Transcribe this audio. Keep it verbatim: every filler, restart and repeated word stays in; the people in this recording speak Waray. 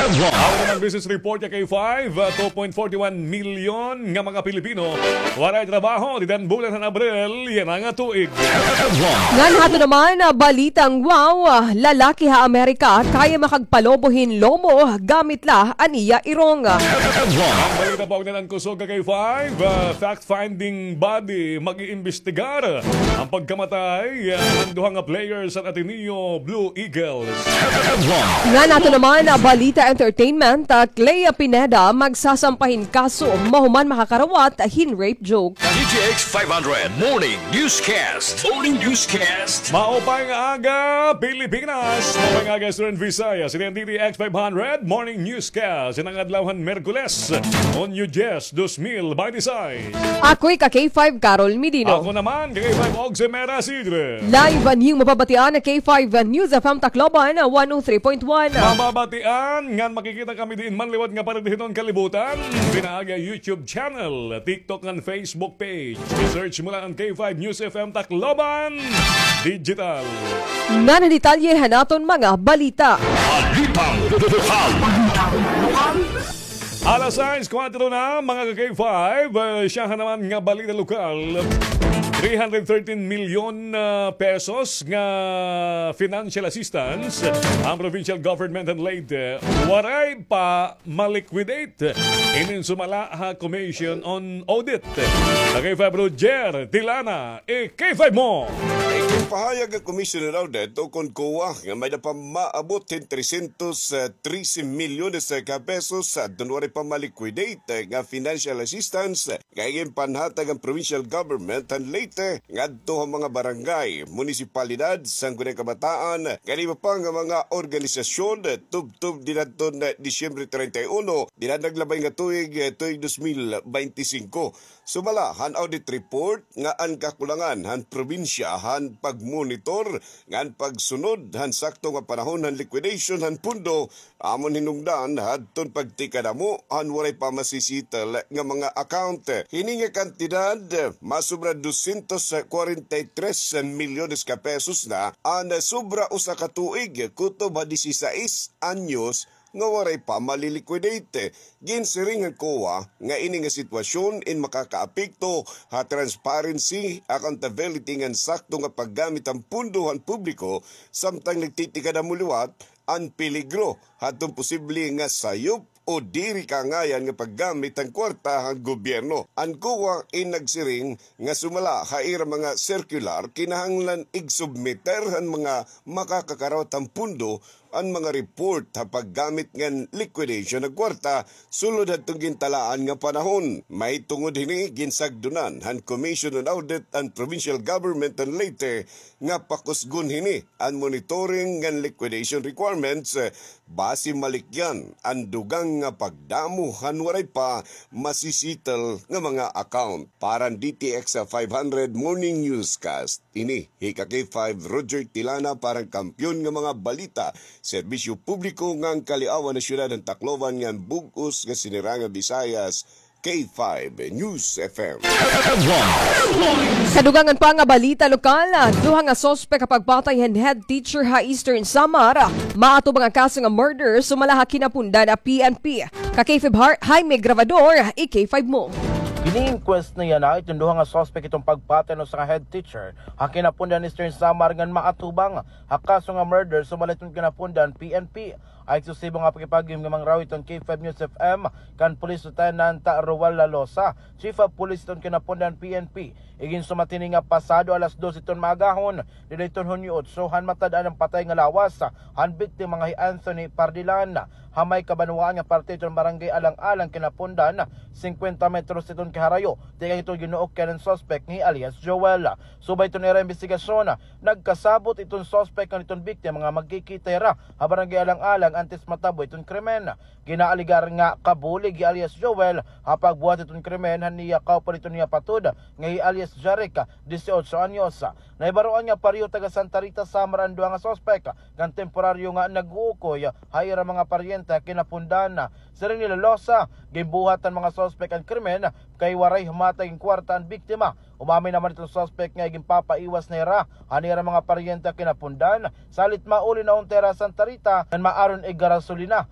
Aron naman business report nga K five, ah, two point forty-one million nga mga Pilipino waray trabaho dida han bulan han Abril yana nga tuig. Ngan haton naman, ah, balitang wow, ah, lalaki ha Amerika kaya makagpalobo hin lobo gamit la an iya irong. An balita pa ugnayan han kusog nga K five, ah, fact-finding body mag-iimbestigar han pagkamatay, ah, han duha nga players han Ateneo Blue Eagles. Ngan haton naman, ah, balita entertainment, ah, Clea Pineda magsasampa hin kaso mahuman makakarawat hin rape joke. D T X five hundred Morning Newscast. Morning Newscast. Maupay nga aga, Pilipinas. Maupay nga aga, Eastern Visayas. Ini an D T X five hundred Morning Newscast. Ini an adlaw han Miyerkules, Hunyo diyes, dos mil bente seis. Ako hi ka K five Carol Medino. Ako naman, K five Ogse Mera Sidre. Live an iyo mapabatian ha K five News F M Tacloban, one oh three point one. Mababatian ngan makikita kami diin man liwat nga paridad hiton kalibutan. Pinaagi ha YouTube channel, TikTok ngan Facebook page. I-search mo la an K five News F M Tacloban Digital. Ngan an detalye han aton mga balita. Balitang lokal. Alas sais kuwatro na, mga ka-K five, eh, siyahan naman nga balita lokal. Three hundred thirteen milyon, ah, pesos nga financial assistance an provincial government han Leyte. Waray pa ma-liquidate. Ini an sumala ha Commission on Audit. Ka-K five Roger Tilana, i-K five mo. Ginpahayag han Commission on Audit ukon COA nga may-ada pa maabot hin trescientos trece milyones ka pesos adton waray pa ma-liquidate nga financial assistance nga ginpanhatag han provincial government han Leyte ngadto ha mga barangay, munisipalidad, sangguniang kabataan, ngan iba pa nga mga organisasyon tubtob dinhadton Disyembre treinta y uno, dinha naglabay nga tuig, tuig dos mil bente singko. Sumala han audit report nga an kakulangan han probinsya han pagmonitor ngan pagsunod han sakto nga panahon han liquidation han pondo amon hinungdan hadton pagtikadamo han waray pa masisettle nga mga account. Hini nga kantidad, masobra dosyentos kwarenta y tres milyones ka pesos na an sobra usa ka tuig kutob ha disisais anyos nga waray pa mali-liquidate. Ginsiring han COA nga ini nga sitwasyon in makakaapekto ha transparency, accountability ngan sakto nga paggamit han pondo han publiko, samtang nagtitikadamo liwat an peligro hadton posible nga sayop o diri kaangayan nga paggamit han kwarta han gobyerno. An COA in nagsiring nga sumala ha ira mga circular, kinahanglan igsubmiter han mga makakakarawat han pondo an mga report ha paggamit ngan liquidation han kwarta sulod hadton gintalaan nga panahon. Mahitungod hini, ginsagdonan han Commission on Audit an provincial government han Leyte nga pakusgon hini an monitoring ngan liquidation requirements, eh, basi malikyan an dugang nga pagdamo han waray pa masisettle nga mga account. Para han D T X five hundred Morning Newscast, ini hi ka-K five Roger Tilana para han Kampiyon nga mga Balita, Serbisyo Publiko ngan Kaliawan Nasyonal han Tacloban ngan bug-os nga Sinirangan Visayas, K five News F M. Kadugangan pa nga balita lokal, duha nga suspek ha pagpatay han head teacher ha Eastern Samar, maatubang ha kaso nga murder sumala ha kinapundan ha P N P. Ka-K five Har-, Jaime Grabador, i-K five mo. Gin-inquest niyan iton duha nga suspek iton pagpatay han usa nga head teacher ha kinapundan Eastern Samar ngan maatubang ha kaso nga murder sumala hiton kinapundan P N P. Ay susibo nga pakipag-agom nga mangrawit hiton K five News F M kan Police Lieutenant Roel Lalosa, Chief of Police hiton kinapundan P N P. Iginsumat hini nga pasado alas dos hiton maagahon, dida hiton Hunyo otso, han matad-an an patay nga lawas han biktima nga hi Anthony Pardilan, ha may kabanwaan nga parte hiton Barangay Alang-alang kinapundan, singkwenta metros hiton kaharayo tikang hiton ginuokyan han suspek nga hi alias Joel. Subay hiton ira imbestigasyon, nagkasabot iton suspek ngan iton biktima nga magkikita hira ha Barangay Alang-alang antes matabo iton krimen. Ginaalegar nga kabulig hi alias Joel ha pagbuhat hiton krimen han iya kaupod hiton iya patod nga hi alias Jaric, disiotso anyos. Nahibaroan nga pareho taga Santa Rita, Samar an duha nga suspek, ngan temporaryo nga nag-uukoy ha ira mga paryente ha kinapundan. Siring ni Lalosa, ginbuhat han mga suspek an krimen kay waray humatag hin kwarta an biktima. Umamin naman iton suspek nga ginpapaiwas na hira han ira mga paryente ha kinapundan, salit mauli na unta hira ha Santa Rita ngan maaron igarasolina